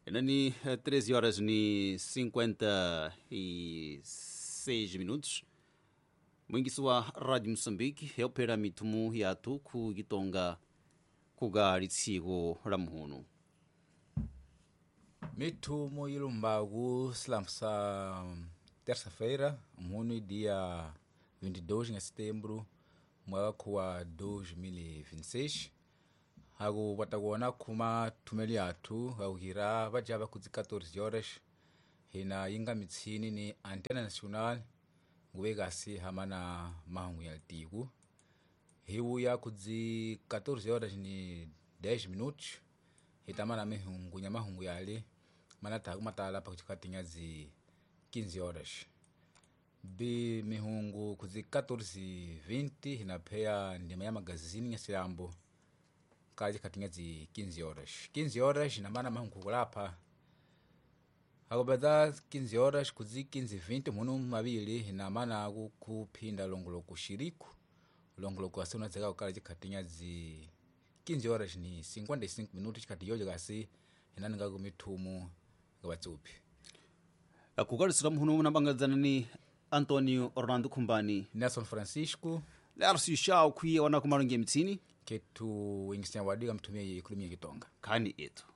Enani 13 horas ni 56 minutos. Mwingisi wa Radio Mosambiki yophera mithumu yathu khu kitonga kuka litsiko la muhunu. Mithumu ilumbaku silambu sa terça-feira, mhunu dia 22 de setembro, mwaka wa 2026. Aku patakuona khuma thumeli athu akukira vajava kudzi 14 horas hina yinga mitshini ni Antena Nacional nguve kasi hamana mahungu ya tiku hiwuya kudzi 14 horas ni 10 minutos hitamana mihungu nya mahungu yale mana taku matala pakuchikatinya dzi 15 horas bi mihungu kudzi 14:20 hinapheya ndima ya magazini ya silambo kaji katinga dzi 15 horas 15 horas hinamana mahungu kulapha akupedza 15 horas kudzi 15:20 mhunu mavili hinamana kuphinda longoloko xiriku longoloko asi unadzeka kukala chikhatinya dzi 15 horas ni 55 minutos chikhati yojo kasi hinaninga kumithumu ngavatsuphi. Kukalisira muhunu unapangadzana ni Antonio Orlando Khumbani Nelson Francisco Lercio Shao khuye wana kumalonge mitsini ketu ingisenya wadika mthumie ikulumia kitonga khani ethu.